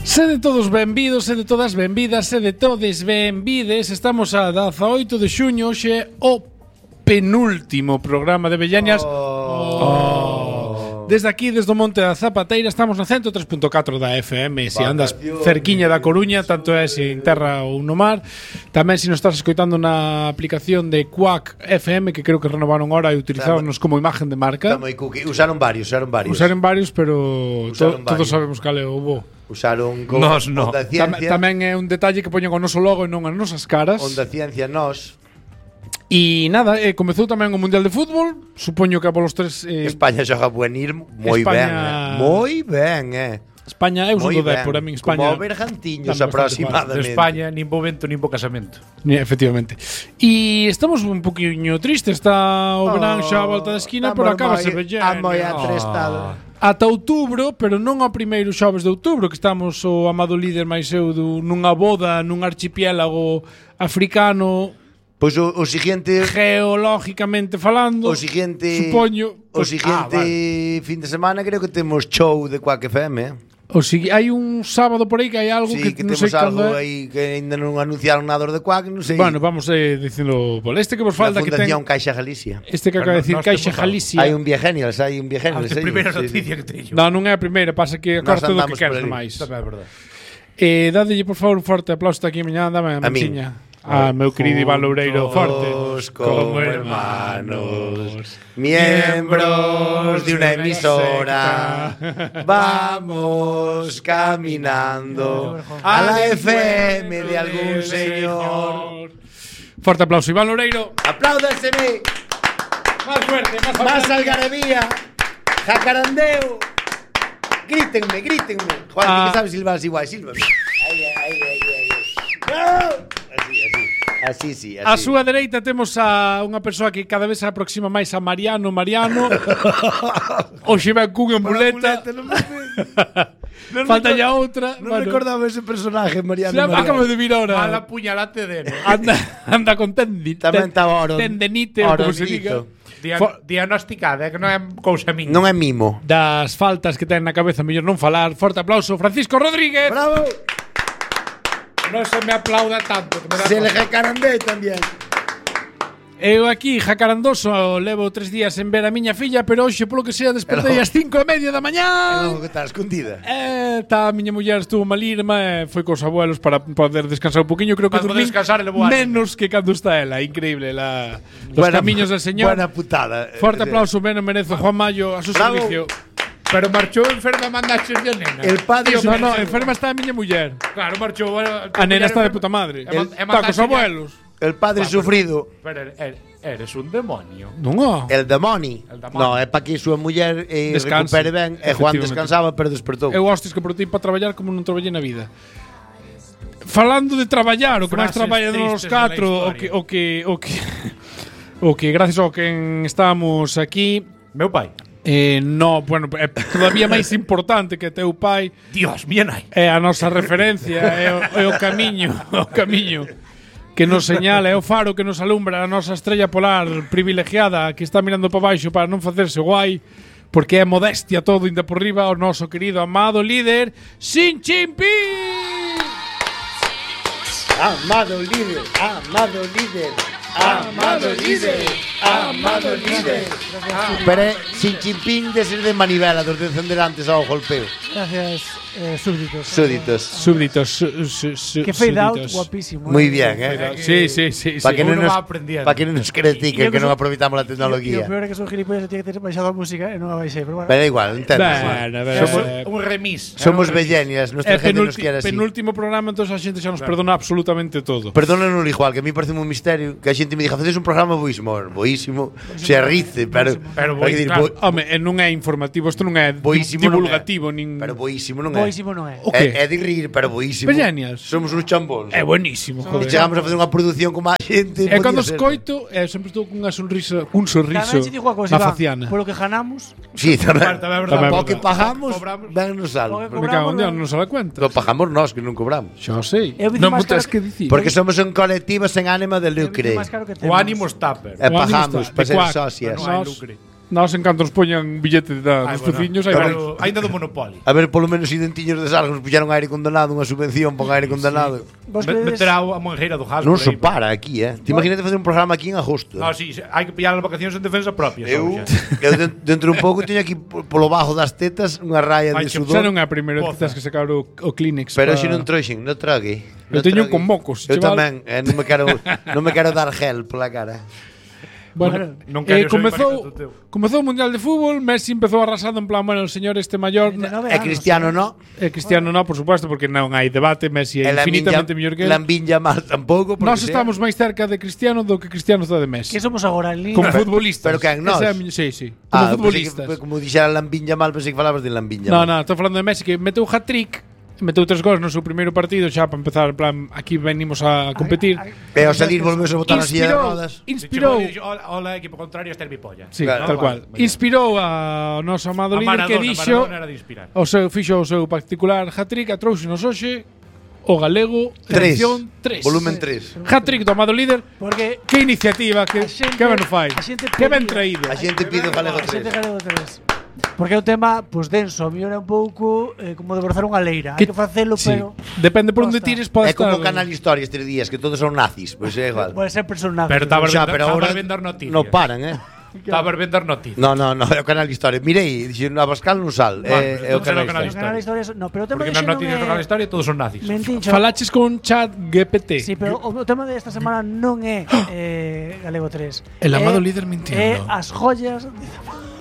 Sede todos benvidos, sede todas benvidas, sede todes benvides. Estamos a 18 de xuño, hoxe é o penúltimo programa de Bellañas. Desde aquí, desde o Monte da Zapateira, estamos na 103.4 da FM. Se andas cerquiña da Coruña, tanto é se en terra ou no mar. Tamén se nos estás escoitando na aplicación de Quack FM, que creo que renovaron ahora e utilizáronos como imagen de marca. Usaron varios. Usaron varios, pero todos sabemos cal é o bo. Usaron con nos no. Onda Ciencia. Tamén é un detalle que poñen o noso logo e non as nosas caras. Onda Ciencia nos. E nada, comezou tamén o Mundial de Fútbol. Supoño que a polos tres España xoga buenir moi España... ben. Moi ben, España é un do Dépor, a min España. Como Bergantiños aproximadamente. De España nin bo vento nin bo casamento. Efectivamente. E estamos un poquinho tristes, está o verán xa a volta da esquina, pero acabase bellendo. Moi atrestado. Ata outubro, pero non ao primeiro xoves de outubro, que estamos o amado líder máis eu nunha boda nun archipiélago africano. Pois o siguiente, geológicamente falando, o siguiente, supoño, o siguiente fin de semana creo que temos show de Quack FM. Hai un sábado por aí que hai algo sí, que non sei algo aí que ainda non anunciaron nada de Quack, non sei. Bueno, vamos dicilo, este que vos falta que ten Fundación Caixa Galicia. Este que acaba de decir Caixa Galicia. Hai un Viagenials, A primeira noticia que teño. Non é a primeira, pasa que acorta do que queres máis. É verdade. Dadelle por favor un forte aplauso aquí mañá, dame a manchiña. Meu querido Iván Loureiro, forte. Como hermanos, miembros de una emisora, vamos caminando a la FM de algún señor. Forte aplauso, Iván Loureiro. Apláudaseme. Más fuerte, más algarabía. Jacarandeo. Grítenme. Juan, que sabes silbar igual, silba. ¡No! Así. A súa dereita temos a unha persoa que cada vez se aproxima máis a Mariano. Hoxe ven cunha muleta. Falta ya outra. Non recordaba ese personaje, Mariano. Acabo de vir ahora. Mala puñalate de Anda con tendenite, como se diga. Diagnosticada, que non é cousa miña. Non é mimo. Das faltas que ten na cabeza, mellor non falar. Forte aplauso, Francisco Rodríguez. Bravo. Non se me aplauda tanto. Se le jacarandé tamén. Eu aquí, jacarandoso, levo 3 días en ver a miña filla, pero hoxe, polo que sea, despertei ás 5:30 da mañá. Non, que está escondida. A miña muller estuvo malirma, foi cos abuelos para poder descansar un poquinho. Creo que dormí menos que cando está ela. Increíble, los camiños del señor. Buena putada. Forte aplauso, ben o merece Juan Mayo a su servicio. Pero marchou enferma mandaches de nena. El padre no, enferma está a miña muller. Claro, marchou. A nena está de puta madre. Está cos abuelos. El padre sufrido. Pero eres un demonio. Non. El demonio. No, é para que a súa muller recupere ben. E Juan descansaba, pero despertou. Eu hostes que por ti para traballar como non traballei na vida. Falando de traballar, o que máis traballa nos 4, o que gracias ao que estamos aquí, meu pai. No, bueno, é todavía máis importante que teu pai. Dios, mía nai. É a nosa referencia, é o camiño que nos señala, é o faro que nos alumbra a nosa estrella polar privilegiada que está mirando para baixo para non facerse guai, porque é modestia todo inda por riba o noso querido amado líder Xin Jinping. Amado líder. Pero Xi Jinping de ser de manivela, dos descenderantes ao golpeo. Gracias, súbditos. Que fade out, guapísimo. Muy bien, Sí. Para que non nos critiquen que non aproveitamos a tecnología. E o peor é que son gilipollas, tiene que ter baixado a música e non a baixei, pero bueno. Pero igual, entendo. Somos un remis. Somos bellenias, nuestra gente nos quere así. Penúltimo programa, entonces a xente xa nos perdona absolutamente todo. Perdónanos igual, que a mí parece un misterio que a xente me diga, facedes un programa boísimo, se arrice, pero home, non é informativo, isto non é divulgativo, nin. Pero boísimo non é. Boísimo non é. É de rir, pero boísimo. Bellenias. Somos uns chambóns. É buenísimo, joder. E chegamos a facer unha produción como a xente. E cando escoito, sempre estou cunha sonrisa, un sorriso na faciana. Por lo que ganamos. Sí, tamén. O que pagamos, vennos algo. Me cago en Dios, non se dá cuenta. Lo pagamos nós, que non cobramos. Xa sei. Non me tens que dicir. Porque somos un colectivo sen ánimo de lucre. O ánimo está, pero. E pagamos para ser socias. Nós en canto nos poñan billete dos peciños, hai Ainda do Monopoly. A ver, polo menos identiños de Sargos puxeron aire condenado, unha subvención para aire condenado. Meter a Monjeira do Jas. Non se para aquí, Te imagínate facer un programa aquí en agosto. No, sí, hai que pillar as vacacións en defensa propia. Eu dentro un pouco teño aquí polo bajo das tetas unha raya de Xa sudor. non é a primeira vez que tens que sacar o Kleenex. Pero se non trouxen, non trague. Eu teño con mocos, Eu chaval. tamén, non me quero dar gel pola cara. Bueno, non quero ser comezou teu. o Mundial de Fútbol, Messi empezou arrasando en plan, bueno, el señor este maior, E Cristiano no. Cristiano no, por supuesto, porque non hai debate, Messi é infinitamente mellor que ele. Lamine Yamal tampouco. Nós estamos máis cerca de Cristiano do que Cristiano está de Messi. Que somos agora en Como línea. futbolistas. Pero quen, nós? Sí. Como futbolistas. Como dixera Lamine Yamal, pensei que falabas de Lamine Yamal. No, estou falando de Messi que meteu hat-trick, meteu 3 gols no seu primeiro partido xa para empezar, en plan, aquí venimos a competir. E ao salir volvemos a botar a silla de rodas. Inspirou. Hola, equipo contrario, este é mi polla. Sí, Claro, tal cual. Inspirou a noso amado líder que dixo Maradona era de inspirar. fixo o seu particular hat-trick, a trouxenos hoxe o galego 3. edición 3. Volumen 3. Hat-trick do amado líder. Porque Que iniciativa, que ben o fai. a xente Que ben pedía. traído. A xente pide o galego a xente 3. galego 3. Porque é un tema, pues denso, a mí era un pouco como de brozar unha leira. Hai que facelo, Sí. pero Depende por onde Costa. tires, pode É como estar. Canal Historia estes días, que todos son nazis. Pois é igual. pode ser personaje. Pero estaba Xa, pero ahora vender noticias. non paran, Estaba vender noticias. No, é o Canal Historia. Mirei, dixen, a Pascal non sal. É o non será Canal o Canal Historia. Canal Historia, no, pero o tema Porque de nas non noticias do Canal Historia todos son nazis. Mentincho. Falaches con Chat GPT. Sí, pero o tema de esta semana non é Galego 3. El amado É- líder mintiendo. É as joyas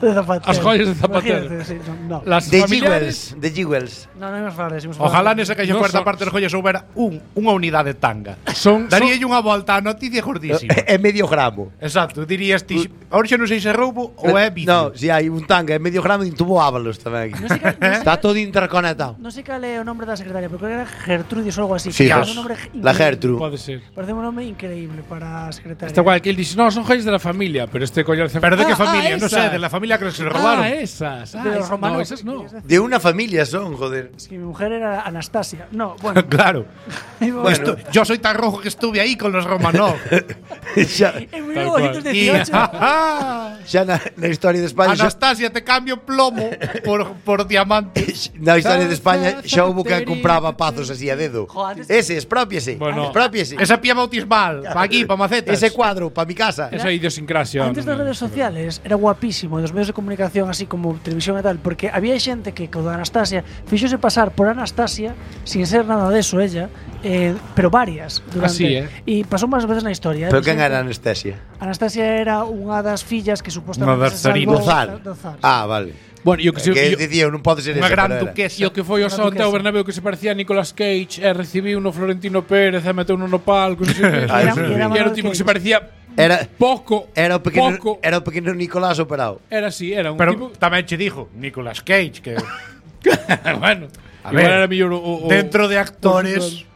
de Zapatero. As joyas de Zapatero. Imagínate, sí, no. Las De familiares. Jewels. No, non imos falar de eso. Ojalá nesa caixa No cuarta son- parte das joyas houbera unha unidade tanga. Son Daríalle unha volta á noticia gordísima. É medio gramo. Exacto, dirías ti, ahora xa non sei se é roubo ou é vicio. No, si hai un tanga, é medio gramo e tuvo Ábalos tamén aquí. Está todo interconectado. Non sei cal é o nombre da secretaria, pero creo que era Gertrudis ou algo así. Sí, que era Ger- un nombre La increíble. Gertrude. Pode ser. Parece un nome increíble para a secretaria. Está guay que él dice, no, son joyas de la familia, pero este collar Pero de que familia? Non sei, de la familia que se robaron. esas. De los Romanov. No, esas no. De unha familia son, joder. Es que mi mujer era Anastasia. No, bueno. Claro. Bueno. Yo soy tan rojo que estuve ahí con los Romanov. xa, En Tal cual. 1918. xa na historia de España xa, Anastasia, te cambio plomo por diamantes. na historia de España xa houve que compraba pazos así a dedo. Jo, antes- Ese, expropiese. Bueno. Expropiese. Esa pía bautismal, pa aquí, pa macetas. Ese cuadro para mi casa. Esa idiosincrasia. Antes das redes sociales era guapísimo, dos medios de comunicación así como televisión e tal, porque había xente que con Anastasia fixose pasar por Anastasia sin ser nada deso ella, pero varias durante. Así, E pasou máis veces na historia. Pero quen era anestesia? Anastasia era unha das fillas que supostamente Unha das se salvou Zar. do Zar. Ah, vale. Bueno, yo que, Que dicía, non pode ser Unha esa. gran pero era. duquesa. yo que foi o Una Santiago duquesa. Bernabéu que se parecía a Nicolas Cage e recibiu no Florentino Pérez e meteu no palco. Non sei, Ah, era, eso sí. era o tipo que se parecía Era pouco. era o pequeno pouco. era o pequeno Nicolás operado. Era así, era un Pero tipo. tamén che dijo Nicolas Cage que Bueno, A igual ver, era mellor o dentro de actores.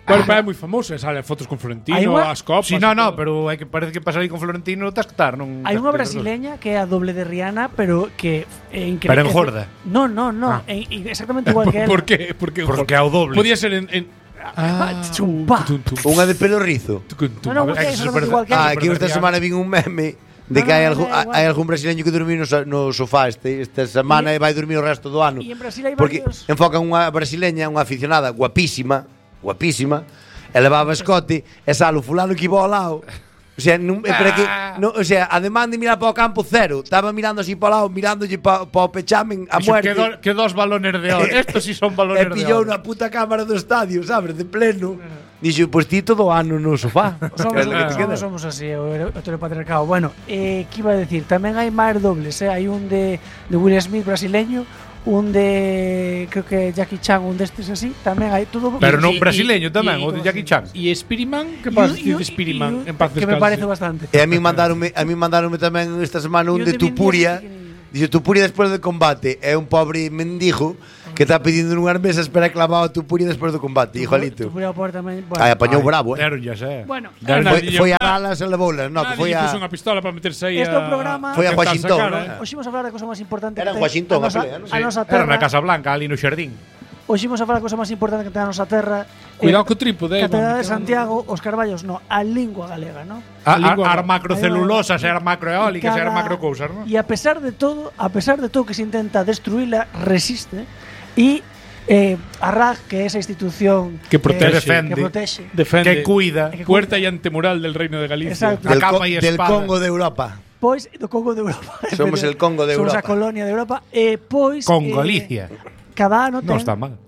Bueno, pero é moi famoso, sale fotos con Florentino, Hai unha- as copas. Sí, no, e todo. pero hai que parece que pasar aí con Florentino tas que estar, non. Hai tas unha que- brasileña que é a doble de Rihanna, pero que é increíble. Pero engorda. No, no, no, Ah. exactamente igual que ela. ¿Por qué? Porque Porque ao doble. Podía ser en chumpa. Unha de pelo rizo. No, no, porque é Eso é exactamente verdad. igual que ela. Ah, aquí esta semana vin un meme de que No, hai no, algún, da igual. hai algún brasileño que dormiu no sofá esta semana e vai dormir o resto do ano. E en Brasil hai Porque varios. enfocan unha brasileña, unha aficionada guapísima, e levaba escote e sale o fulano que iba ao lado. O sea, pero que, o sea, además de mirar para o campo cero, estaba mirando así para o lado, mirándolle para o pechamen a Dixo, muerte. que dos balones de oro. Estos sí son E balones de pillou oro. na puta cámara do estadio, sabes, de pleno. Dixo, pois ti todo o ano no sofá. Que é lo que te queda. Somos así, o heteropatriarcado. Bueno, que iba a decir, tamén hai máis dobles, hai un de Will Smith brasileño, un de creo que Jackie Chan, un destes así, tamén hai todo. Pero non Y- brasileño tamén, y- o de Jackie Chan. ¿Y Spiriman? ¿Qué pasa de Spiriman? En paz que me descanse. parece bastante. E a mí mandaronme tamén esta semana un E o de de Vin Tupuria. Diesel, Dice Tupuria despois do combate. É un pobre mendigo que está pedindo nunhas mesas para clavado a Tupuria despois do combate, igualito. Tupuria por tamén, Ai, bueno. apañou bravo, Deron ya sé. Bueno, Foi a balas e levoulas, no, que Nadie foi lle a puso unha pistola para meterse aí Este é un programa- Foi a tentar Washington, sacar, ¿no? eh. hoxe vamos a falar da cosa máis importante Era en que ten Washington, a nosa, a pelea, non? a nosa Era na terra. Casa Blanca, ali no xardín. Hoxe imos a falar a cosa máis importante que ten a nosa terra. Cuidado co trípode, Catedral de mami. Santiago, os Carballos, no, a lingua galega, no? As macrocelulosas, as macroeólicas, as Cada- macrocousas, non? E a pesar de todo que se intenta destruíla, resiste e a RAG, que é esa institución Que protege. que protexe. Defende. Que cuida. Puerta y antemural del Reino de Galicia. Exacto. A Del, capa e del espada. Congo de Europa. Pois do Congo de Europa. Somos el Congo de Somos Europa. a colonia de Europa e pois Con Galicia. cada ano Non ten, está mal.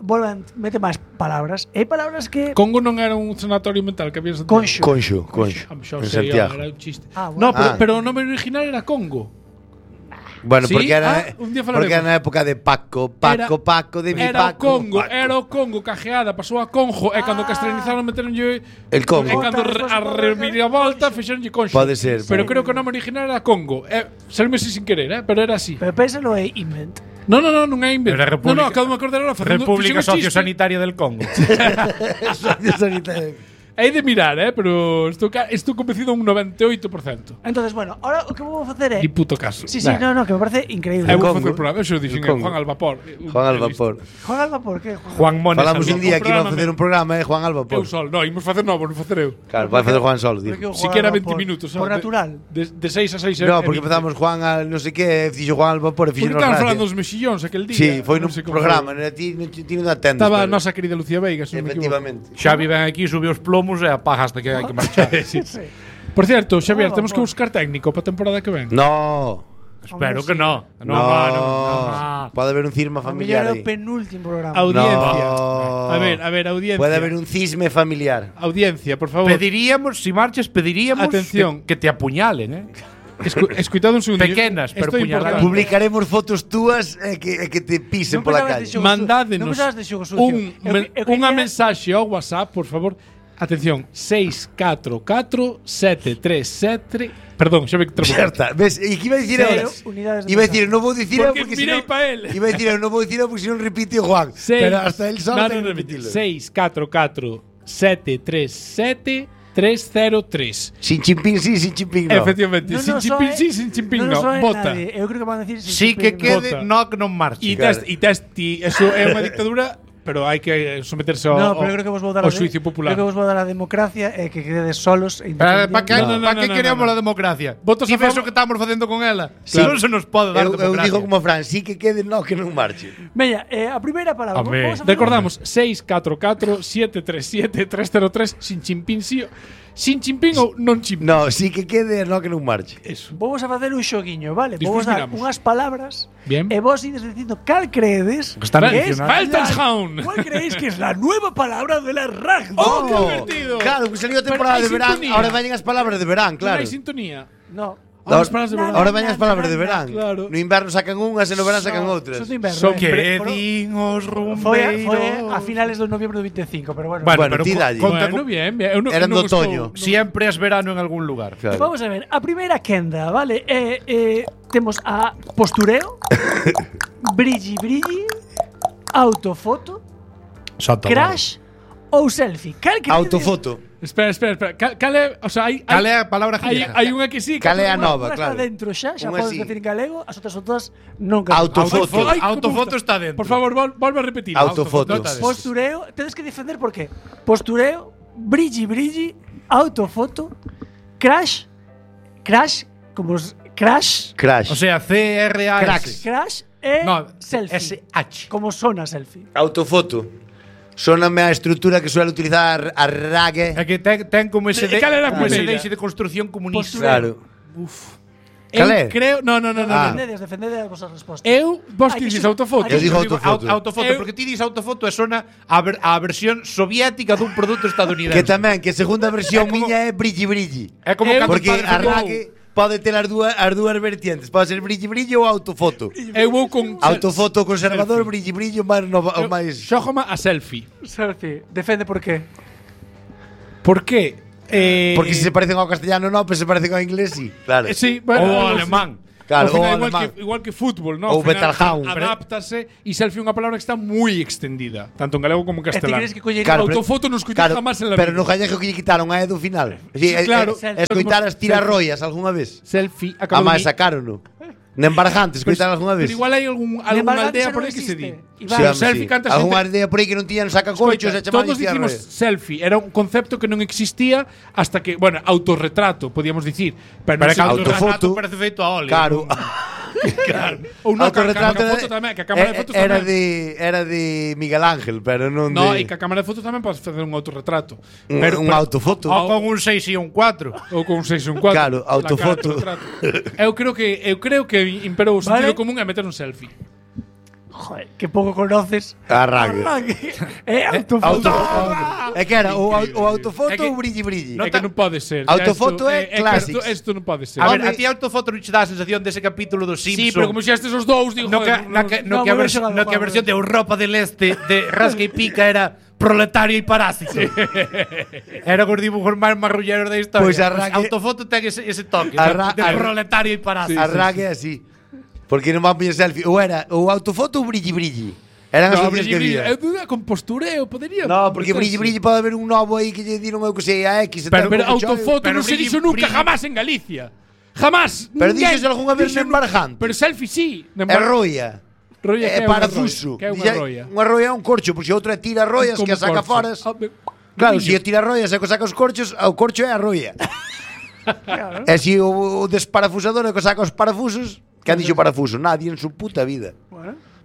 mete máis palabras. E hai palabras que Congo non era un sanatorio mental que había en Santiago. Conxo. Conxo. Xa En sei, Santiago. era un chiste. Ah, bueno. No, pero, Ah. pero o nome original era Congo. Bueno, ¿Sí? porque era, Un día falaremos. porque era na época de Paco, de mi Era o Paco. Congo, Paco. era o Congo cajeada, pasou a Conjo e cando castellanizaron meteronlle El Congo. E cando a reviravolta fixeronlle Conxo. Pode ser. Pero creo que o nome original era Congo. Salme sin querer, pero era así. Pero pénsalo é invent. Non é invento. Era República- No, acabo de me acordar ahora facendo República fixen un chiste. Sociosanitaria del Congo. Hai de mirar, pero estou convencido un 98%. Entonces, bueno, ahora o que vou facer é Ni puto caso. Sí, no, que me parece increíble. Eu vou Congo. facer o programa, eso dixen El Congo. Juan al vapor. Juan al vapor. Juan Alba, por qué? Juan Mones. Falamos un día que iba a programa, facer un programa, Juan Alba Eu por. sol, no, imos facer novo, non facer eu. Claro, vai facer Juan solo, Porque tío. o Juan Siquera Alba 20 minutos. Por natural. De 6 a 6 No, porque empezamos Juan al non sei que, fixo Juan al vapor e Porque fixo estaban falando dos mexillóns aquel día. Sí, foi non nun sei como programa, foi. non era ti non atendes. Estaba a pero- nosa querida Lucía Veiga, se non me equivoco. Efectivamente. Xavi ven aquí, subiu os plomos e apaga hasta que hai que marchar. Sí. Por cierto, Xavier, Ah, temos que vamos. buscar técnico para a temporada que ven. No. Espero que no. No. Pode haber un cisma A mellor familiar é o aí. penúltimo programa. Audiencia. No. A ver, audiencia. Pode haber un cisme familiar. Audiencia, por favor. Pediríamos, si marches, pediríamos Atención. que te apuñalen, Escuitado un segundo. Pequenas, pero Esto é puñaladas. importante. Publicaremos fotos túas e que te pisen pola calle. Mandádenos Non pensabas de xogo sucio. unha mensaxe ao WhatsApp, por favor. Atención, 644-737. Perdón, xa ve que trabo. Certa, ves, e que iba a dicir eu? Cero unidades de Iba a dicir, non vou dicir eu Porque porque mirei senón pa él. Iba a dicir eu, non vou dicir eu porque senón repite o Juan. Pero hasta el só ten que repetilo. 644-737-303. Sin chimpín sí, sin chimpín no. Efectivamente, sin chimpín sí, sin chimpín no. Vota. Eu creo que van a decir sin Sí que chimpín, no. quede, Vota. no que non marche. Claro. Eso é unha dictadura, pero hai que someterse ao, No, pero eu creo que vos vou dar ao xuicio popular. Creo que vos vou dar a democracia e que quededes solos e ¿Para que, No, no, pa no, que no, queremos no, no. a democracia? Votos Ti a ves favor- o que estamos facendo con ela? Sí. Non se nos pode dar Eu democracia. digo como Fran, sí que quede no, que non marche. Veña, a primeira palabra. Home. Vamos a facer Recordamos 644-737-303 sin chimpín sí. Sin chimpín ou non chimpín. No, sí que quede no, que non marche. Eso. Vamos a facer un xoguiño, vale? Despois Vamos a dar miramos. unhas palabras Bien. e vos ides dicindo cal creedes Que están que es mencionadas. Weltanschauung. ¿Cuál creéis que es la nueva palabra de la RAG? ¡Oh, qué divertido! Claro, que salió a temporada Pero de hai verán, sintonía. ahora veñen as palabras de verán, Claro. claro. Hai sintonía. No. Ahora as palabras de verán. Ahora veñen as palabras de verán. Claro. No inverno sacan unhas e no verán sacan outras. Son de inverno. Son Que Pero- din os Foi rumbeiros. a finales de noviembre do 25, pero bueno. Bueno, Bueno, pero ti dalle. conta Bueno, con- bien, bien. Eu non- Eran eu non do otoño. estou- Siempre es verano en algún lugar. Claro. Vamos a ver, a primeira quenda, vale? Temos a postureo, brilli, autofoto, crash ou selfie. Cal credes? Autofoto. Espera. Cal é, o sea, Cal é a palabra hai, galega? hai unha que sí, Cal é a Unha- nova, unha claro. está dentro xa Unha podes sí. decir en galego, as outras son todas non Autofoto. Ay, como Autofoto gusta. está dentro. Por favor, volve a repetir. Autofoto. Nota de- Postureo, tedes que defender por qué. Postureo, brilli, autofoto, crash, como crash, Crash. O sea, CRAS. Cracks. crash e No, selfie. SH. Como sona selfie. Autofoto. Sóname a estrutura que suele utilizar a Rague. É que ten como ese E cal era a como ese primeira? deixe de construcción comunista. Claro. Eu Cal é? creo, no. Ah. Defendedes as vosas respostas. Vos Hai que dices ser- autofoto. Eu digo Eu digo autofoto. autofoto, porque ti dis autofoto e sona a versión soviética dun produto estadounidense. Que tamén, que segunda versión É como- miña é brilli. É como Eu- cando Porque o padre a ficou- Rague pode ter as dúas vertientes. Pode ser brilli ou autofoto. Eu vou con Autofoto conservador, Selfie. brilli, o máis... Xógama a selfie. Selfie. Defende por qué. Por qué? Porque se parecen ao castellano non, pero se parecen ao inglés, sí. Claro. Sí, Ou ao alemán. Claro, Ao ou final, alemán. igual que fútbol, ¿no? Ou Ao final, Betalhaun. Adáptase e selfie é unha palabra que está moi extendida, tanto en galego como en E ti castelán. crees que collería Claro, pero- Autofoto non escoitei jamás en la pero vida. no gallego que lle quitaron a E do final. Sí, claro. Escoitar as tirarroias algunha vez. Selfie, A máis sacaron, no. Nen Barjantes, coitar algunha vez. Pero igual hai algunha aldea por aí que se di. Selfie canta xente. Algunha aldea por aí que non tiñan sacacorchos e chamaban todos dicimos selfie, era un concepto que non existía hasta que, bueno, autorretrato, podíamos dicir, pero Para que autofoto parece feito a óleo. Claro. claro. Ou non, que a cámara de foto tamén, que a cámara de fotos era tamén. era de Miguel Ángel, pero non No, de e que a cámara de fotos tamén podes facer un autorretrato. un autofoto. O con un 6 e un 4. Ou con un 6 e un 4. Claro, autofoto. Eu creo que imperou o sentido común é meter un selfie. Joder, que pouco conoces. Arranque. Autofoto. É que era o autofoto É que- ou brilli. É que non pode ser. Autofoto é clásico. Isto non pode ser. A ver, a ti a autofoto non che dá a sensación dese capítulo dos Simpsons. Sí, pero como xa estes os dous, digo, No que, joder, no que a bueno, versión de Europa del Este de Rasca y Pica era proletario y parásito. Era os dibujos máis marrulleros da historia. Pois arranque- Autofoto ten ese toque de proletario y parásito. Arranque así. Porque non van poñer selfie. Ou era o autofoto ou brilli. Eran as No, opcións que había. Eu duda con postureo, podería. No, porque brilli pode haber un novo aí que lle diron eu que sei a X. Pero como autofoto pero non se brilli- dixo nunca brilli- jamás en Galicia. Jamás. Pero Ninguén díxose algunha vez dixo en nunca. Barjantes. Pero selfie sí. É roia. Roia que É é parafuso. Que é unha roia. Unha roia é un corcho, pois outro é tira roias que a saca foras. Claro, se o tira roias e que saca os corchos, o corcho é a roia. E se o desparafusador é que saca os parafusos, que han dixo parafuso? Nadie en su puta vida.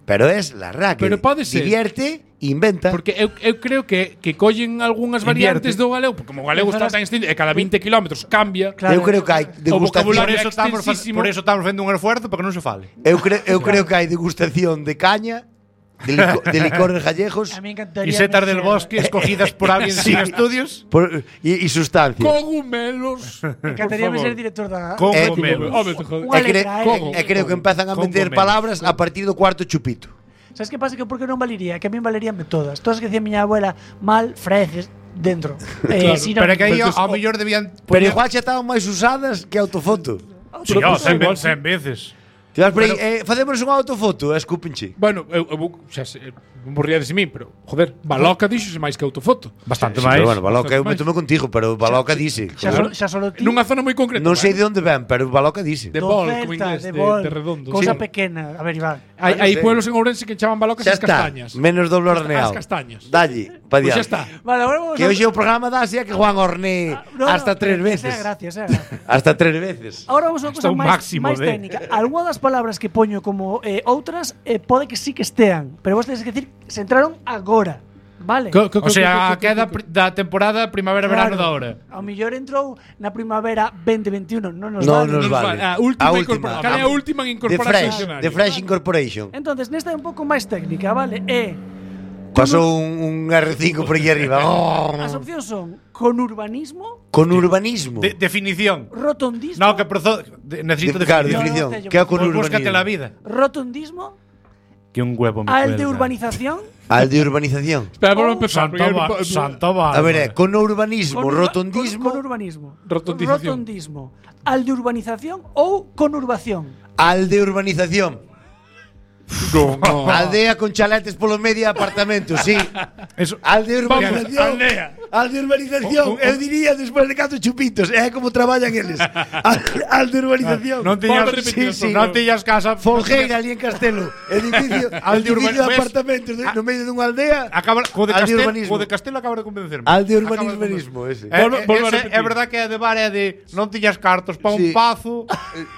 Pero es la ra que Pero pode ser. divierte, inventa. Porque eu creo que collen algunhas variantes do galego, porque como o galego está tan extendido, e cada 20 kilómetros cambia. Claro. Eu creo que hai O degustación. vocabulario Por eso estamos facendo un esfuerzo para que non se fale. Eu creo que hai degustación de caña, de licores gallegos A mí encantaría. Y setas del bosque escogidas por alguien sin estudios. y sustancia. Cogumelos. Me encantaría ser director da. Cogumelos. Home, te joder. Unha E letra, creo que empezan a meter Cogumelos. palabras a partir do cuarto chupito. Sabes que pasa? Que por que non valería? Que a min valeríanme todas. Todas que decía miña abuela, mal, freces, dentro. Si non- Pero que aí Pero ao mellor debían Pero igual xa estaban máis usadas que autofoto. Sí, Pero 100 veces. Ti vas por aí, facemos unha autofoto, escúpenche. Bueno, eu xa sei, morría de min, pero joder, Baloca dixose máis que autofoto. Bastante Sí, máis. pero bueno, Baloca, eu Bastante métome contigo, pero Baloca dice. Xa solo ti. Nunha zona moi concreta. Non sei de onde ven, pero Baloca dice. De do bol, Celta, como inglés, bol, de redondo. Cousa Sí. pequena. A ver, Iván. Hai sei. pueblos en Ourense que chaman balocas Xa as está, castañas. menos doble horneado. As castañas. Dalle, pa Pois diante. xa está. Vale, agora vamos Que hoxe o programa da Asia que Juan horné hasta 3 veces. Gracias, gracias. Hasta 3 veces. Ahora vamos a unha Hasta cosa un máis máximo máis de- técnica. Algunha das palabras que poño como outras pode que sí que estean, pero vos tedes que decir se entraron agora, vale? O sea, a queda da temporada primavera-verano da hora. Ao mellor entrou na primavera 2021, non nos Non vale. nos vale. A última, A última. Cal é a última en The incorporarse ao Fresh, diccionario? The Fresh Incorporation. Entonces, nesta é un pouco máis técnica, vale? Pasou un R5 por aquí arriba. As opcións son conurbanismo, Con urbanismo. Definición. rotondismo, No, que necesito Claro, definición. definición. No, no, Que é con Pues búscate la urbanismo? vida. rotondismo, Que un huevo me al de cuelga. urbanización, Al de urbanización. Espera, volvo a empezar. Santa Bárbara. A ver, con urbanismo, rotondismo, conurbanismo, Rotondización. rotondismo, al de urbanización ou conurbación. al de urbanización. Aldea con chaletes polo medio de apartamentos, sí. Eso. Al de urbanización. aldea. Al de urbanización. Eu diría despois de 4 chupitos. É como traballan eles. Al de urbanización. Non Vamos a tiñas, repetir sí, eso, non tiñas casa. Folgueira ali en Castelo. Edificio, Al de edificio de ves? apartamentos no medio dunha aldea. Acaba, co de Al de Castelo, urbanismo. co de Castelo acaba de convencerme. Al de Acaba urbanismo ese. Volvo a Ese repetir. é verdad que é de bar é de non tiñas cartos para Sí. un pazo.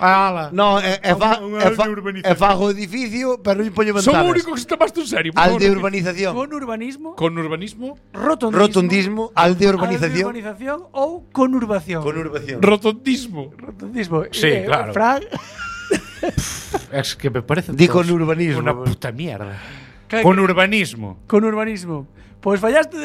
Ala. No, Un al de urbanización. fago edificio, pero non poño Son ventanas. o único que se tomaste en serio. por Al favor, de repite. urbanización. Con Conurbanismo, urbanismo. rotondismo, Rotondismo, al de al de urbanización. urbanización ou conurbación. Conurbación. Rotondismo. Rotondismo. Sí, claro. Fran, Es que me parece Di todo con urbanismo. Una puta mierda. que- Con urbanismo. conurbanismo. Pois fallaste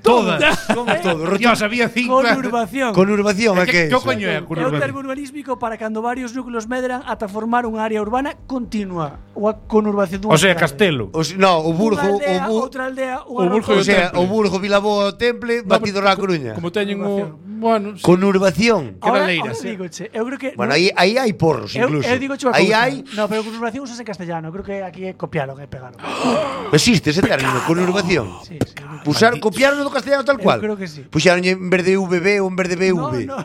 Todas. Como todo. Dios, había 5. Conurbación. Conurbación, é que Que coño é É un termo urbanísmico para cando varios núcleos medran ata formar unha área urbana continua ou a conurbación dunha O sea, cidade. Castelo. No, o Unha Burgo, aldea, o outra aldea, o Burgo o e sea, Temple. o Burgo, Vilaboa, o Temple, batido na Coruña. Como teñen o... Bueno, sí. Conurbación. Queda Ahora, leiras, ahora digoche, eu creo que Bueno, aí hai porros incluso. Eu digo Aí hai No, pero conurbación usase en castellano, creo que aquí copiaron e pegaron. existe ese término, conurbación. Sí, sí. eu Usar copiaron do castellano tal cual. creo que sí. Puxaron en vez de VB ou en vez de creo- BV. No,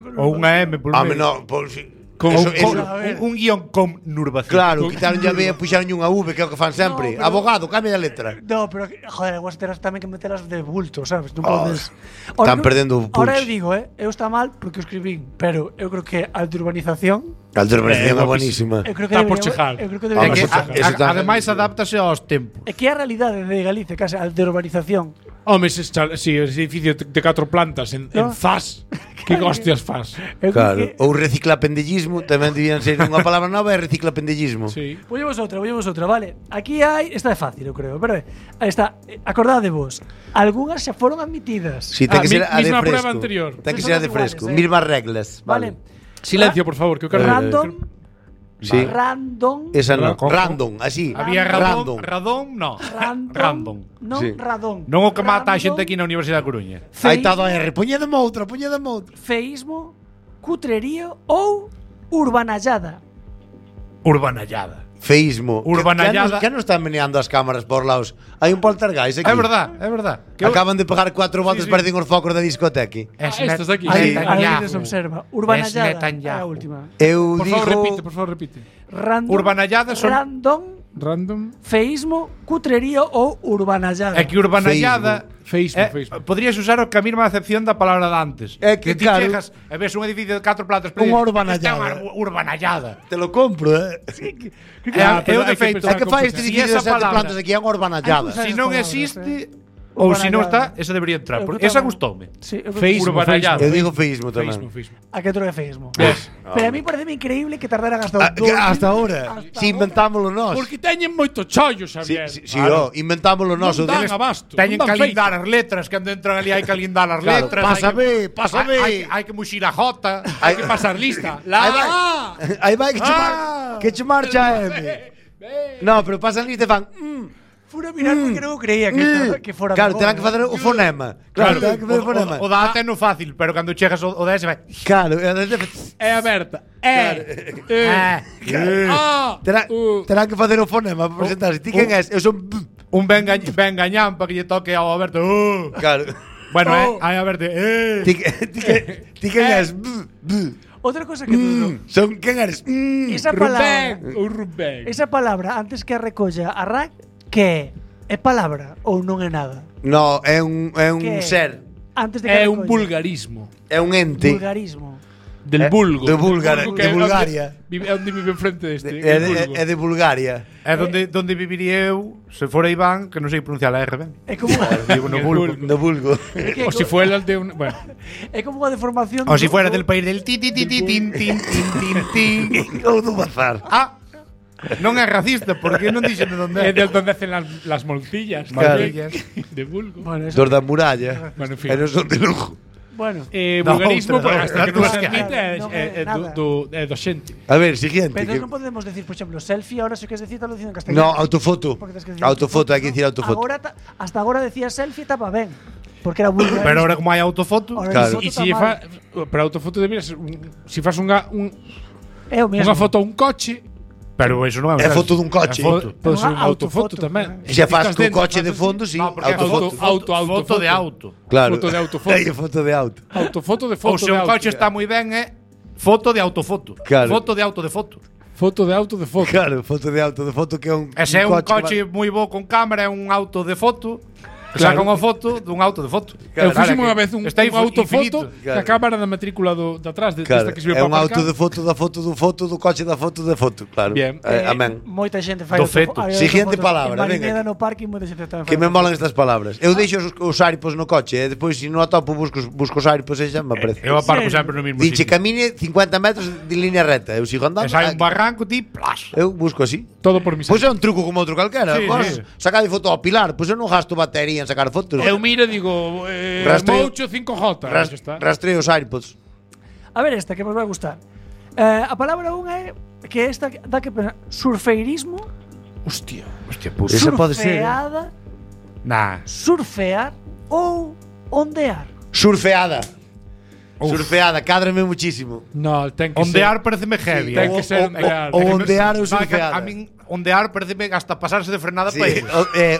no. Ou unha M por Ah, medio. no, pues, Un guión con nurbación. Claro, quitaron ya B e puxaron unha V, que é o que fan sempre. No, pero- Abogado, cambia a letra. No, pero joder, vos terás tamén que metelas de bulto, sabes? Non Oh, podes. están perdendo Ahora punch. eu digo, eu está mal porque o escribín, pero eu creo que a de urbanización, A urbanización é buenísima. eu creo que Está por debería- chejar. Eu creo que Ah, É debería. que, Eso está- ademais, adáptase aos tempos. É que é a realidade de Galicia, case a de urbanización. Home, ese edificio de 4 plantas en No. Zas. Que hostias fas? Eu creo Claro, que ou reciclapendellismo, tamén debían ser unha palabra nova, é reciclapendellismo. Sí. Vollemos outra, vale. Aquí hai, esta é fácil, eu creo, pero aí está, acordade vos. Algunhas xa foron admitidas. Si, ten que ser a de Misma fresco. prueba anterior. Ten que Son ser a as de fresco, iguales, mismas reglas. Vale. Silencio, por favor, que eu quero Random, Sí. random, Esa non, Con- random, así. Había Random. Radón, no. random, non Sí. radón. Non o que mata a Random, xente aquí na Universidade da Coruña. Aí está do R, poñedeme outra. Feísmo, cutrerío ou urbanallada. Urbanallada. Feísmo. Urbanallada. Que non están meneando as cámaras por lados? Hai un poltergeist aquí. É verdad, é verdad. Acaban de pegar 4 voltas sí. parecen os focos da discoteca. estas de aquí. Aí, Sí. aí se observa. Urbanallada é a Netanyahu. última. Eu Por digo favor, repite. Random, Urbanallada son- random, Random. feísmo, cutrerío ou urbanallada. É que urbanallada Feísmo. Podrías usar a mesma acepción da palabra de antes. É que, ti claro, chegas e ves un edificio de 4 plantas, pero Unha dices, urbanallada. "Esta é unha urbanallada." te lo compro, É o hai que defeito. pensar É que fai este Si edificio esa de 7 palabra- plantas aquí é unha urbanallada. Hai Si esas non palabras, existe ou si non está, esa debería entrar. Eu Porque creo esa tamén. gustoume. Sí, eu creo Feísmo, Urbanallada. Eu digo feísmo tamén. Feísmo. A que outro é feísmo. Yes. Pero a mí parece increíble que tardaran hasta Ah, que hasta ahora. Si inventámoslo nós. Porque teñen moito chollo, Si, Xavier. inventámoslo nós. Non dan abasto. Teñen non que dan feito. alindar as letras, que cando entran ali hai que alindar as Claro, letras. pásame. Hai que muxir a jota. Hai que pasar lista. Aí vai. Aí vai que che marcha M. No, pero pasan lista e fan. Fura mirar porque non creía que fora Claro, mejor, terán que facer o fonema. Claro, terán que facer o fonema. O da A no fácil, pero cando chegas o da S vai. Claro, É aberta. terán que facer o fonema para presentarse. Ti quen és? Eu son Un ben gañán para que lle toque ao Alberto. Claro. Bueno, hai a verte. Ti quen és? Outra cosa que tú Son quen eres? esa palabra, Rubén. esa palabra antes que a recolla a RAC, que é palabra ou non é nada? No, é un Que ser. Antes de que É a un recolla. vulgarismo. É un ente. Vulgarismo. Del vulgo. de Búlgara, Vulgo de que é Bulgaria. É onde vive enfrente deste. É el vulgo. de Bulgaria. É donde viviría eu se fora Iván, que non sei pronunciar a R ben. É como Digo no El vulgo. vulgo. No vulgo. O si fuera el de un. Bueno. é como unha deformación. O si fuera del país del ti ti ti ti tin tin tin tin tin. Ou do bazar. Ah, non é racista, porque non dixen de onde É é. de donde hacen las moltillas. Claro. también. De vulgo. Bueno, eso, Dos da muralla. Bueno, en fin. E non son de lujo. bueno. Vulgarismo, outra, pues, hasta que non se outra. admite Non é nada. do xente. A ver, siguiente. Pero que- non podemos decir, por exemplo, selfie, ahora se queres decir, estás dicindo en castellano. No, autofoto. Porque tens que decir Autofoto, hai que dicir ¿no? autofoto. Agora hasta agora decía selfie estaba ben. Porque era vulgar. Pero ahora como hai autofoto, Ahora Claro. foto E está si mal. para autofoto debería ser si fas unha É o mesmo. foto a un coche, pero eso non é É foto dun coche. É foto. pode ser Unha unha autofoto autofoto, tamén. E xa faz Ficas co dentro, coche de fas fondo, así. sí. No, porque Autofoto. foto de auto. Claro. Foto de autofoto. Hai foto de auto. Autofoto de Ou foto se de un auto. coche está moi ben é foto de autofoto. Claro. Foto de auto de foto. Foto de auto de foto. Claro, foto de foto que é un E se é un que coche moi bo con cámara, é un auto de foto. Que Claro. saca unha foto dun auto de foto. Eu fixen Claro, unha vez un está autofoto infinito. da cámara da matrícula de atrás de Claro, esta que sirve é un para auto aparcar. de foto da foto do foto do coche da foto de foto, claro. Bien. Amén. Moita xente fai Do feto. Siguiente palabra, venga. no parque moita xente tamén. Que me molan estas palabras. Eu deixo os aripos no coche e depois se non atopo busco os aripos e xa me aparece. Eu aparco serio? sempre no mesmo Diche sitio. camine 50 metros de línea recta. Eu sigo andando. E sai un barranco, ti, plas. Eu busco así. Todo por mi Pois é un truco como outro calquera. Sí, Vos sí. sacade foto ao pilar, pois eu non gasto batería en sacar fotos. Eu miro e digo, Rastreo- Moucho 5J. Ras- Xa está. Rastreo os iPods. A ver esta que vos vai gustar. A palabra unha é que esta dá que pensar surfeirismo, Hostia. Hostia, puta. Esa pode ser, surfeada, Nah. surfear ou ondear. Surfeada. Surfeada, cádrame muchísimo. No, ten que Ondear pareceme heavy. Ten que ser ondear. o ondear ou No, que surfeada. A min ondear pareceme hasta pasarse de frenada Sí, para ir.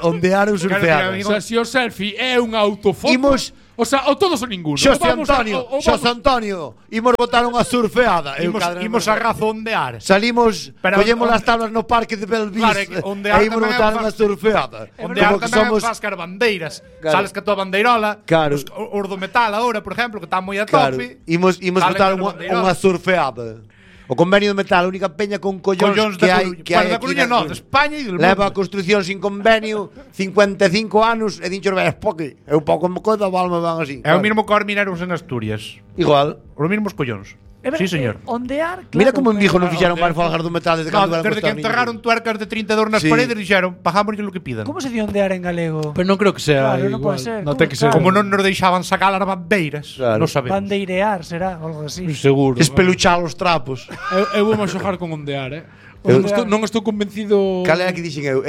ondear ou surfeada. Claro, O sea, se o selfie é un autofoto. Imos O sea, o todos ou ninguno. Xosé Vamos a- Antonio, o vamos- Xosé Antonio, imos botar unha surfeada. Imos a razondear. Salimos, Pero collemos onde- as tablas no parque de Belvis Claro, é que ondear e imos tamén é botar un unha fas- surfeada. Ondear Como que tamén somos fascar bandeiras. Claro. Sales que a tua bandeirola. Claro. Os do metal agora, por exemplo, que están moi a Claro, tope. imos Salen botar con a bandeirola. unha surfeada. O convenio de metal, a única peña con collóns que hai Coruña. que Bueno, hai da aquí Coruña na non, de España e del Leva a mundo. construcción sin convenio 55 anos e dinchos ves poque. É un pouco mo coida, valme van así. É o mismo que os mineros en Asturias. Igual. Os mismos collóns. É verdade, Sí, señor. Ondear, claro. Mira como en Vigo non claro, fixeron máis claro. folgas do metal desde No, cando eran desde que costar enterraron tuercas de 32 nas Sí. paredes dixeron, pagámoslle lo que pidan. Como se di ondear en galego? Pero non creo que sea Claro, non igual. pode ser, Non como- ten que ser. claro. Como non nos deixaban sacar as bandeiras, Claro. non sabemos. Bandeirear será, algo así. Seguro. Espeluchar os trapos. Eu vou xogar con ondear, Eu- Non estou convencido. Cal era que dixen eu?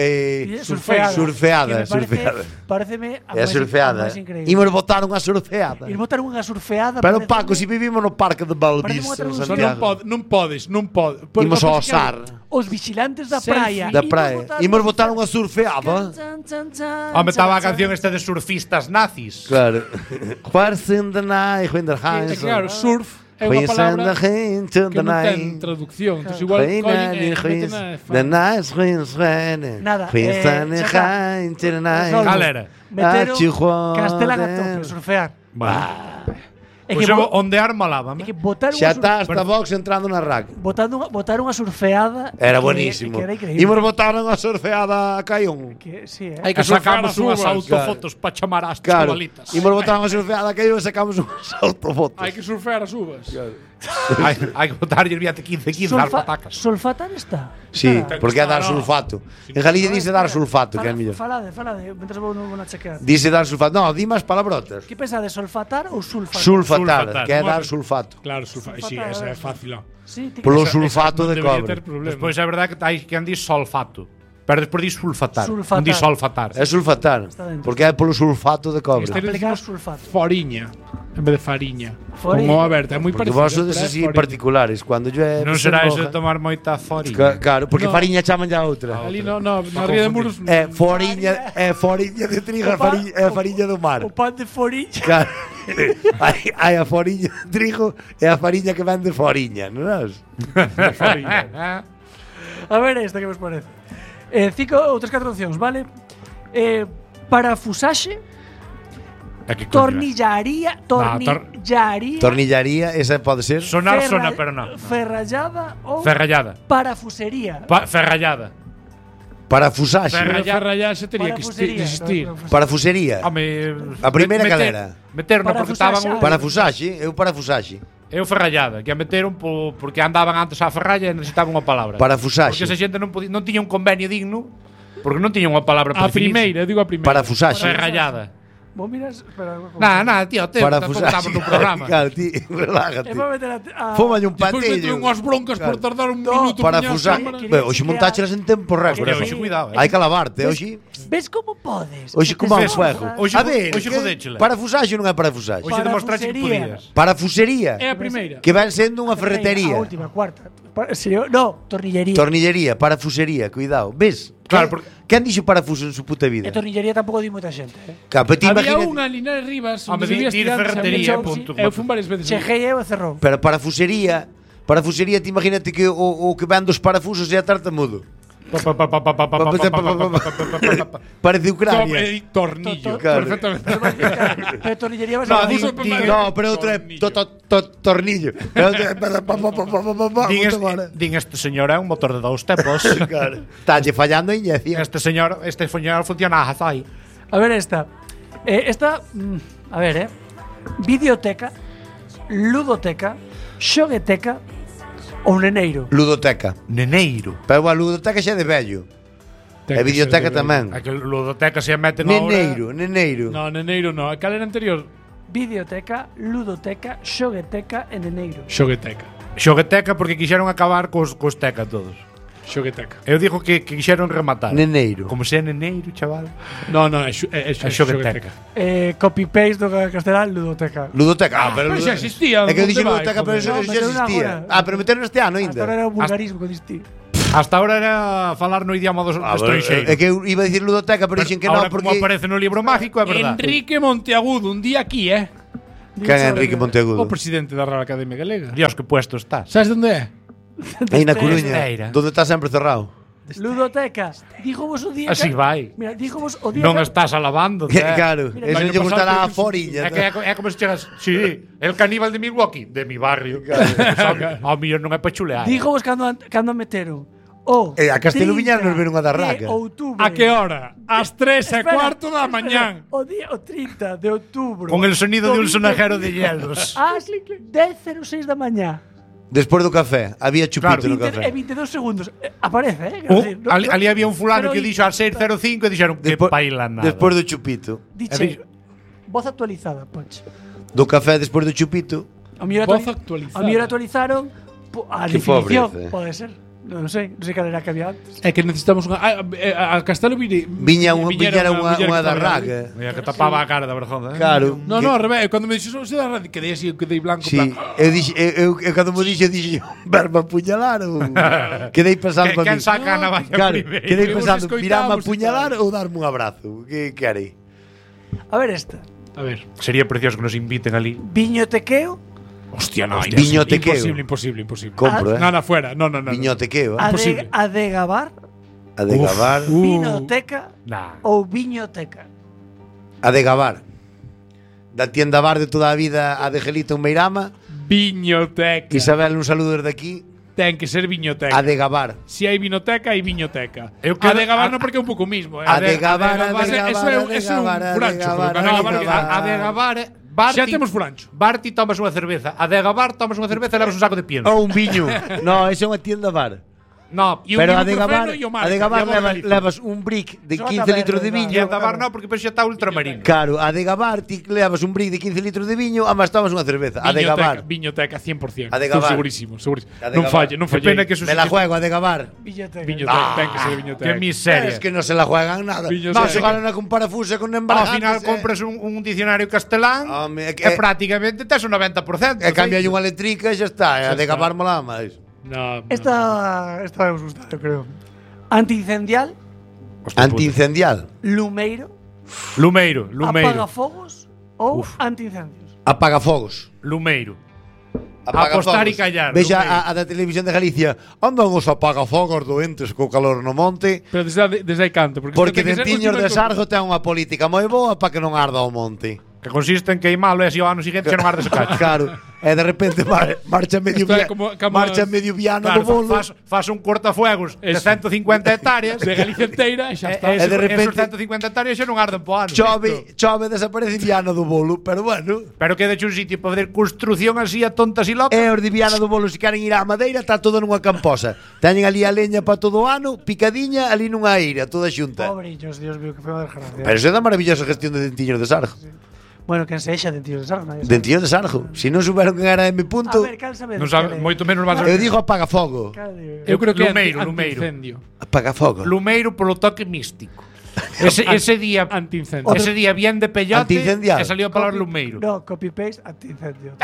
Surfeada. Surfeada, Que me surfeada. Pareceme a É a máis- surfeada. a máis increíble. Imos botar unha surfeada. Ir botar unha surfeada. Pero pareceme- Paco, si vivimos no parque de Balbis, Pareceme en outra Só Santiago. non podes. Imos ao osar Os vigilantes da Selfie. praia. da praia. Imos botar unha surfeada. Home, estaba a canción esta de surfistas nazis. Claro. What's in the night when the É hands claro, surf é unha What's in palabra the hand to que the non ten night. traducción. Entón igual When collen the e meten the night winds when Nada, What's in the xa está. hand to the night. Resolvo. Cal era? Meteron Chihuahua. Castelan a tope, surfear. É Pois que, eu bo- ondear malábame. é que botar Xa unha está hasta Vox entrando na rack. botar unha surfeada Era que- buenísimo. que era increíble. Imos botar unha surfeada a Caión. Que, sí, Hai Que que surfear sacamos as unhas uvas. autofotos para chamar as Claro. chavalitas. Imos botar unha surfeada a Caión e sacamos unhas autofotos. Hai que surfear as uvas. Hai que botarlle el viate 15 as patacas. Solfatar está. Sí, Está. porque é dar sulfato. En Galicia dice dar sulfato, que é mellor. Falade, mentres vou non chequear. Dice dar sulfato. No, di máis palabrotas. Que pensades, solfatar ou sulfatar? Sulfatar, Sulfatar. que é dar sulfato. Claro, surfar. Sí, esa é fácil. Sí, ti- Polo Esa sulfato non de debería cobre. ter problema. Despois é verdade que hai quen di solfato. Pero despois di sulfatar. Sulfatar. Non di solfatar. É sulfatar, Está dentro. porque é polo sulfato de cobre. Este Aplicar decimos sulfato. foriña en vez de fariña. Foriña. Con o aberta, é moi Porque parecido. vos sodes pero é así foriña. particulares, cando llueve Non se será eso moja. de tomar moita foriña. Claro, porque No. fariña chaman ya outra. Ali na ría de Muros. É foriña de trigo, é a fariña do mar. O pan de foriña. Claro. hai a foriña de trigo e a fariña que vende foriña, non é? A ver esta que vos parece. 5 ou 3 4 opcións, vale? Parafusaxe, É que coño é? tornillaría, Tornillaría, esa pode ser. Sonar sona, pero non. Ferrallada ou Ferrallada. parafusería. Ferrallada. Parafusaxe. Ferrallaxe tería que Parafusería. existir. Parafusería. Home, A primeira calera. Meteron porque estaban Parafusaxe, eu parafusaxe. Eu ferrallada, que a meteron porque andaban antes á ferralla e necesitaban unha palabra. Parafusaxe. Porque esa xente non tiña un convenio digno, porque non tiña unha palabra para A primeira, eu digo a primeira. Parafusaxe. Ferrallada. Vos miras, espera. Nada, tío, tampouco Parafusaxe. estamos no programa. Claro, ti, relájate. É para meter a Fómalle un Despois patillo. meto unhas broncas por tardar un minuto. Parafusaxe. Quería- Ben, hoxe montáchelas en tempo récord. Hostia, hoxe cuidado, Hai que lavarte, hoxe. Ves como podes? Hoxe como a un Tes fuego. cosas. Hoxe A ver, hoxe que jodéchela. parafusaxe non é parafusaxe. Hoxe demostraste que Parafusería. podías. Parafusería. É a primeira. Que ven sendo unha A ferretería. última, cuarta. No, tornillería. Tornillería, parafusería, cuidado. Ves? Claro, Quen- Quen dixo parafuso en su puta vida? E tornillería tampouco di moita xente. Claro, pero ti Había imagínate- unha en Linares Rivas Home, onde se vía dir estudiantes ferretería, a punto. Eu fui varias veces. Chejei eu e cerrou. Pero parafusería, ti imagínate que o que ven dos parafusos é a tartamudo. Parece Ucrania. Tornillo. Claro. Perfectamente. Pero tornillería vai No, ser diso- No, pero outro é tornillo. Din este señor é un motor de 2 tempos. Talle fallando a inyección. Este señor funciona aí. A ver esta. A ver, videoteca, ludoteca, xogueteca ou neneiro. Ludoteca. Neneiro. Pero a ludoteca xa é de vello. E videoteca tamén. A que ludoteca se mete no Neneiro. No, neneiro no. Cal era anterior? Videoteca, ludoteca, xogueteca e neneiro. Xogueteca. Xogueteca porque quixeron acabar cos teca todos. Xogueteca. Eu digo que quixeron rematar. Neneiro. Como se é neneiro, chaval. No, é xogueteca. Copy-paste do castelán, ludoteca. Ludoteca. Pero xa existía. É que eu onde dixo vai, ludoteca, pero joder? eso No, xa meteron existía. agora. Pero meteron este ano Hasta ahora ainda. era un vulgarismo que diste. Hasta ahora era falar no idioma do estranxeiro. É que eu iba a dicir ludoteca, pero dixen que non, Ahora, porque... como aparece no libro mágico, é verdade. Enrique Monteagudo, un día aquí, Quen é Enrique Monteagudo? O presidente da Real Academia Galega. Dios, que puesto estás. Sabes onde é? Aí na Coruña, Esteira. donde está sempre cerrado. Ludoteca. Díjovos o día Así vai. Mira, díjovos o día Non estás alabando, Claro, Mira, eso el non año lle gustará a pasado foriña. É como se chegas, sí, el caníbal de Milwaukee, de mi barrio. Ao millón non é pa chulear. Díjovos cando meteron o A Castelo Viñar nos ver unha 30 darraca. de outubro. A que hora? Ás 3:15 da mañán. O 30 de outubro. Con el sonido de un do sonajero de hielos. Ás 10:06 da mañá. Despois do café, había chupito no café. 22 segundos. Aparece, Oh, Quero decir, ali había un fulano pero que dixo a 6:05 e dixeron que paila nada. Despois do chupito. Diche, voz actualizada, Poch. Do café despois do chupito. A mellor Voz actualizada. A mellor actualizaron a Que definición, pobreza. pode ser. Non sei cal era que había antes. É que necesitamos unha a Castelo Viñera unha darraca. Mira que tapaba a cara da vergonza. Claro. No, no, ao revés, cando me dixo se da radio quedei así, quedei blanco, Sí, eu cando me dixo verme apuñalar ou quedei pensando para Quen mí. saca a navalla Claro, primeiro? quedei Imos pensando, escoitamos virame e apuñalar ou darme un abrazo. Que quere? A ver esta. A ver. Sería precioso que nos inviten ali. Viñotequeo, Hostia, no, Viñotequeo. Imposible. Compro, No, no, fuera. No. Viñotequeo, Imposible. a de gabar, a de gabar, vinoteca Nah. ou viñoteca. a de gabar. Da tienda bar de toda a vida a de Gelito en Meirama. Viñoteca. Isabel, un saludo desde aquí. Ten que ser viñoteca. A de gabar. Si hai vinoteca, hai viñoteca. Eu A quero- de gabar non porque é un pouco mismo. A de gabar, a de Eso é gabar, un furancho. A de gabar, Xa temos furancho. Barti tomas unha cerveza. A de gabar tomas unha cerveza e levas un saco de pienso. Ou un viño. No, esa é unha tienda bar. No, E un Pero a de gabar, ibuprofeno e o a de marca, gabar e a levas, Morgaliza. levas un brick de Sota 15 litros de verde, e viño. a de gabar no, porque xa está ultramarino. Claro, a de gabar ti levas un brick de 15 litros de viño, amas tomas unha cerveza. A de gabar. Viñoteca 100%. A de Estou gabar. segurísimo. A de Non gabar. falle, non Que falle. pena que eso Me la juego a de gabar. Viñoteca. Viñoteca, ten que ser viñoteca. Que miseria. Es que no se la juegan nada. Viñoteca. No, xogaron con parafusa con Ao embargantes. final compras un diccionario castelán Home, é que- e prácticamente tes un 90%. E cambia unha eléctrica e xa está. A de está. gabar mola máis. No. Esta vai vos gustar, eu creo. Antiincendial, Antiincendial. lumeiro, Lumeiro. apagafogos ou antiincendios. Apagafogos. Lumeiro. Apagafogos. Apostar e callar, Vexa Lumeiro. a da Televisión de Galicia. Andan os apagafogos doentes co calor no monte. Pero desde aí canto. Porque ten que ser Dentiños de último Sargo ten unha política moi boa para que non arda o monte. Que consiste en queimalo e así ao ano seguinte xa non arde ese cacho. Claro. E de repente marcha medio Isto é marcha medio viano do Claro, bolo. faz un cortafuegos de Eso. 150 hectáreas. De Galicia inteira e xa está. E de repente- esos 150 hectáreas xa non arden po ano. Chove, desaparece viano do bolo, pero bueno. Pero queda un sitio para fazer construcción así a tontas e locas. E os de Viana do Bolo, se queren ir á madeira, está todo nunha camposa. Teñen ali a leña para todo o ano, picadiña ali nunha eira, toda xunta. Pobrillos, Dios mío, que foi unha desgracia. Pero iso é da maravillosa gestión de Dentiños de Sargo. Bueno, quen sexa Dentiños de Sargo, nadie sabe. Dentiños de Sargo. Se non souberon quen era M. A Punto, ver, cal sabe? Non sabe, moito menos vas a eu digo apagafogo. Eu creo que Lumeiro, é Lumeiro. antiincendio. Apagafogo. Lumeiro polo toque místico. Ese día Antiincendio. ese día bien de peyote Antiincendial. e salió a palabra Lumeiro. No, copy-paste, antiincendio.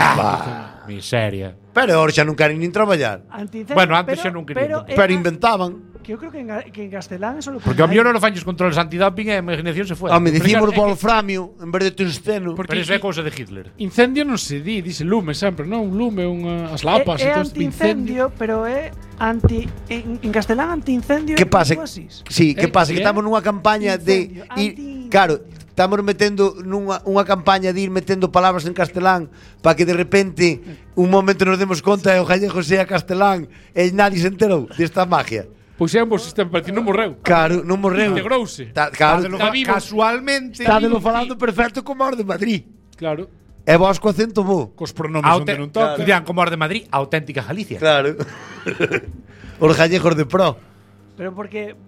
Miseria. Pero ahora xa non queren nin traballar. Antiincendio, Bueno, antes xa non quería Pero inventaban. Que eu creo que en castelán eso lo Porque ao mellor non fañes controles antidoping e a imaginación se foi. Home, dicimos claro, é que- wolframio en vez de tungsteno. Pero iso é cousa de Hitler. Incendio non se di, dice lume sempre, non? Un lume, as lapas, É e todo isto, antiincendio, pero é en castelán antiincendio. Que pasa? algo así. Sí, que pasa? Que ¿Qué? estamos nunha campaña de ir, claro, estamos metendo unha campaña de ir metendo palabras en castelán para que de repente un momento nos demos conta e o gallego sea castelán e nadie se enterou desta magia. Pois é un bo sistema, parece non morreu. Claro, non morreu. Integrouse. Claro, Está vivo. Casualmente. está de lo falando perfecto como os de Madrid. Claro. E vos co acento bo. Cos pronomes onde non toca. Dirán como os de Madrid, auténtica Galicia. Claro. Os gallegos de pro. Pero porque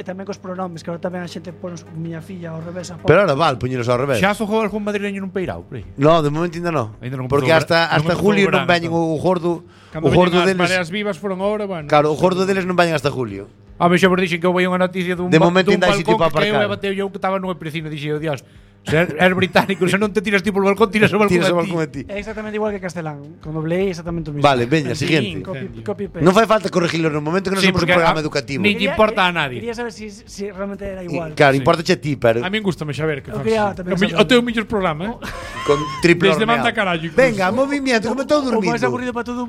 tamén cos pronomes, que agora tamén a xente pon miña filla ao revés a Pero ahora val, puñeros ao revés. Xa fogou algún madrileño nun peirao, por aí. No, de momento ainda non. Ainda non Porque comezou hasta non comezou julio o non verano, veñen o gordo. Cando O gordo veñen as deles. mareas vivas foron agora, bueno. Claro, o gordo deles non veñen hasta julio. A mí xa vos dixen que eu veía unha noticia dun De momento dun ainda hai sitio balcón para que eu aparcar. bateu eu que estaba nunha piscina, dixen, "Oh, Dios, Se eres británico, se non te tiras ti polo balcón, tiras o balcón Tiras o a ti. balcón a ti. É exactamente igual que castelán. Con doble I exactamente o mismo. Vale, veña, siguiente. Copy paste. Non fai falta corregirlo no momento que non Sí, somos un porque programa a- educativo. ni- Quería- importa a nadie. Quería saber si realmente era igual. Claro, importache a ti, pero A min gustame saber que Eu faz. quería tamén saber. O teu mellor programa, con triple Desde horneado. Manda Carallo, incluso. Venga, movimiento, como estou O máis dormindo. aburrido para todo